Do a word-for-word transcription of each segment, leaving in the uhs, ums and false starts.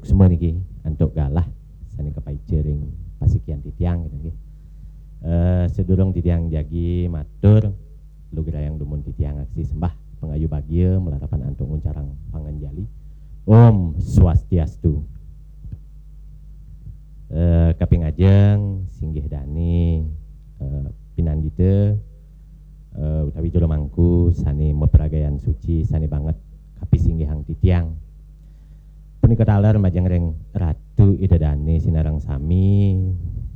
Semua niki antuk galah sané kapaica ring pasikian titiang, gitu nggih. Eh, sadurung titiang jagi matur, lugrayang dumun titiang aksi sembah pangayu bagia malarapan antuk nguncarang panganjali. Om Swastiastu. Eh, kaping ajeng singgih dané, eh, pinandita, eh, utawi jero mangku sané mapragayan suci, sané banget kapisinggihang titiang. Punika taler majeng ring Ratu Ida Dané sinareng sami,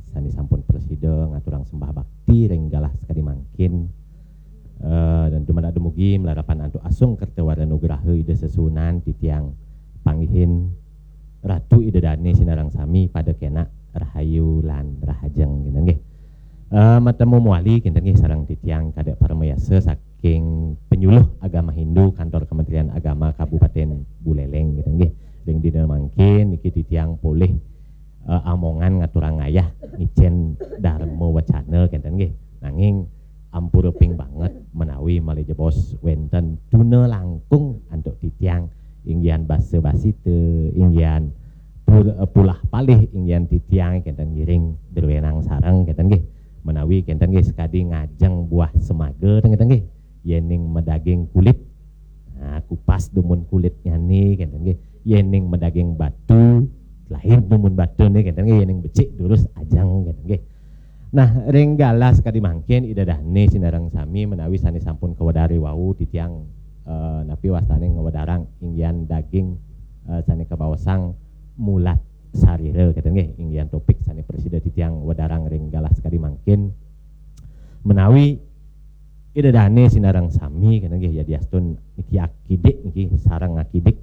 sané sampun prasida ngaturang sembah bakti ring galah sakadi mangkin. Eh, dan dumadak dumugi malarapan antuk asung kerta wara nugraha Ida Sesuunan titiang panggihin Ratu Ida Dané sinareng sami pada kénak rahayu lan rahajeng, gitu nggih. Eh, matemu mawali kinten nggih sareng titiang Kadek Paramayasa saking Penyuluh Agama Hindu Kantor Kementerian Agama Kabupaten Buleleng, gitu nggih. Ring dina mangkin niki titiang polih, eh, amongan ngaturang ayah ngicén dharma wacana kinten nggih. Nanging ampura ping banget menawi malih jebos wénten tuna langkung antuk titiang, inggihan basa basita, inggihan pur-, eh, pulah palih, inggihan titiang kinten ngiring druénang sareng kinten nggih. Menawi kinten nggih sakadi ngajeng buah semaga kinten nggih. Yéning madaging kulit, nah, kupas dumun kulitnyané kinten nggih. Yéning madaging batu, lain dumun batuné kinten nggih. Yéning becik durus ajeng kinten nggih. Nah, ring galah sakadi mangkin Ida Dané sinareng sami menawi sané sampun kawedar wau titiang, eh, napi wastané ngwedarang inggihan daging, eh, sané kabaosang mulat sarira, gitu nggih, inggihan topik sané prasida titiang wedarang ring galah sakadi mangkin. Menawi Ida Dané sinareng sami, gitu nggih, yadiastun niki akidik niki sareng akidik,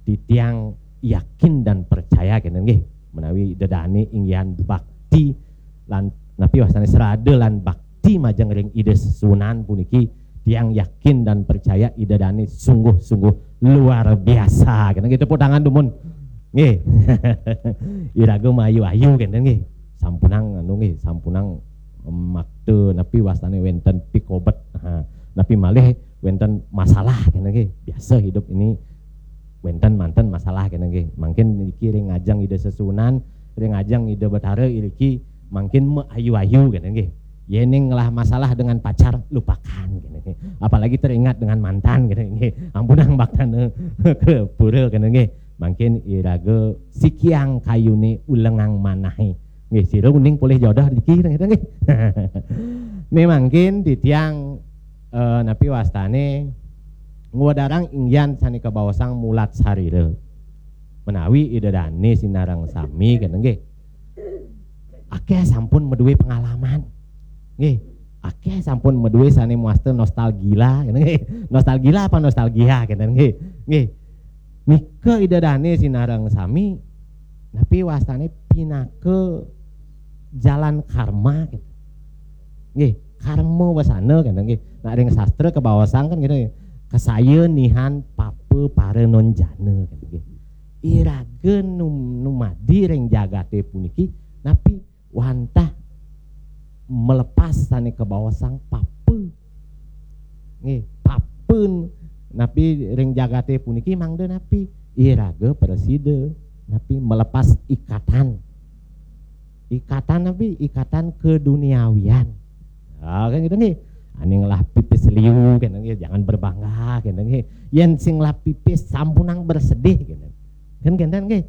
titiang yakin dan percaya, gitu nggih, menawi Ida Dané inggihan bakti lan napi wastané srada lan bakti majeng ring Ida Sesuunan puniki, tiang yakin dan percaya Ida Dané sungguh-sungguh luar biasa. Kena kita tepuk tangan dumun. Nggih. Iraga mayu-ayu kenten nggih. Sampunang anu nggih, sampunang, em, makta napi wastané wénten pikobet. Ha, napi malih wénten masalah kenten nggih. Biasa hidup ini wénten manten masalah kenten nggih. Mangkin niki ring ajeng Ida Sesuunan, ring ajeng Ida Betara iriki mangkin maayu-ayu kenten nggih. Yéning ngelah masalah dengan pacar, lupakan kenten nggih. Apalagi teringat dengan mantan kenten nggih. Ampunang baktana ka pura kenten nggih. Mangkin iraga sikiang kayuné ulengang manahé. Nggih, sira uning polih jodoh niki kenten nggih. Né mangkin titiang, eh, napi wastané ngwedarang inggihan sané kabaosang mulat sarira. Menawi Ida Dané sinareng sami kenten nggih. Akéh sampun madué pengalaman. Nggih, akéh sampun madué sané mawasta nostalgia kenten nggih. Nostalgia apa nostalgia kenten nggih. Nggih. Nika Ida Dané sinareng sami napi wastané pinaka jalan karma kenten. Nggih, karma wasana kenten nggih. Nak ring sastra kabaosang kan kenten nggih. Kasaya nihan papa para nonjana kenten nggih. Iraga num-, numadi ring jagaté puniki napi wantah melepas sané kabaosang papa. Nggih, papa napi ring jagaté puniki mangda napi? Iraga prasida napi melepas ikatan. Ikatan napi? Ikatan keduniawian. Ah, kan gitu nggih. Ané ngelah pipis liu kenten nggih, jangan berbangga kenten nggih. Yén sing ngelah pipis sampunang bersedih kenten. Kan kenten nggih.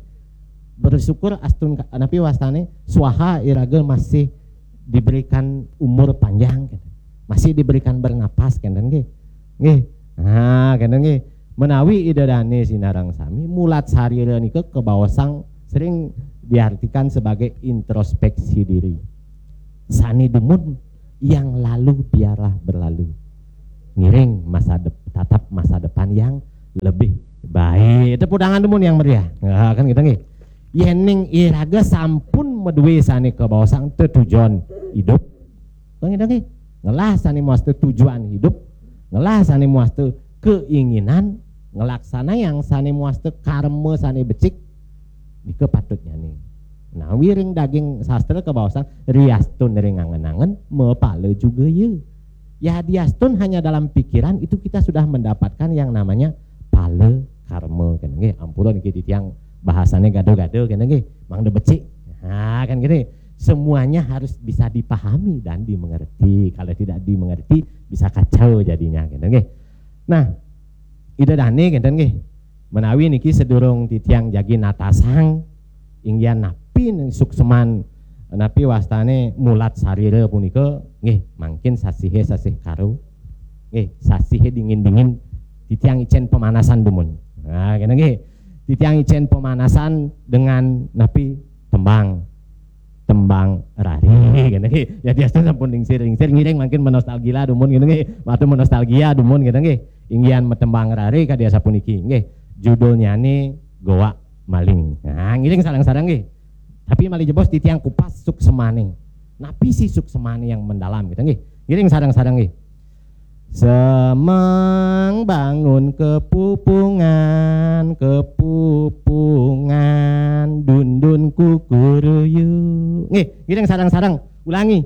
Bersyukur astun ka-, napi wastané swaha iraga masih diberikan umur panjang kenten. Masih diberikan bernapas kenten nggih. Nggih. Nah, kenten nggih. Menawi Ida Dané sinareng sami, mulat sarira nika kabaosang sering diartikan sebagai introspeksi diri. Sané dumun, yang lalu biarlah berlalu. Ngiring masa dep-, tatap masa depan yang lebih baik. Tepuk tangan dumun yang meriah. Nah, kan gitu nggih. Yéning iraga sampun madué sané kabaosang tetujon hidup. Kan gitu nggih. Ngelah sané mawasta tujuan hidup, ngelah sané mawasta keinginan, ngelaksanayang sané mawasta karma sané becik, nika patutnyané. Nah, wiring daging sastra kabaosang riastun ring angen-angen, mapala juga ya. Ya, diastun hanya dalam pikiran itu kita sudah mendapatkan yang namanya pala karma kenten nggih. Ampura niki titiang Bahasanya gado-gado, kan nggih. Mangda becik. Nah, kan gini. Semuanya harus bisa dipahami dan dimengerti. Kalau tidak dimengerti, bisa kacau jadinya, kan nggih. Nah, Ida Dane, kan nggih. Menawi niki sedurung titiang jagi natasang, inggihan napi ning sukseman, napi wastane mulat sarira punika, nggih, mangkin sasihe sasih karo. Nggih, sasihe dingin-dingin, titiang icen pemanasan dumun. Nah, kene nggih. Titiang icen pemanasan dengan napi, tembang. Tembang rari, kene nggih. Ya, biasa sampun lingsir-lingsir, ngiring mangkin menostalgia dumun, kene nggih. Waktu menostalgia dumun, kene nggih. Inggihan metembang rari kadi asapuniki, nggih. Judulnyane Goa Maling. Nah, ngiring sareng-sareng nggih. Tapi malih jebos titiang kupas suksemane. Napi sih suksemane yang mendalam, gitu nggih. Ngiring sareng-sareng nggih. Semeng bangun kepupungan, kepupungan, dundun kukuruyu. Nggih, ngiring sareng-sareng. Ulangi.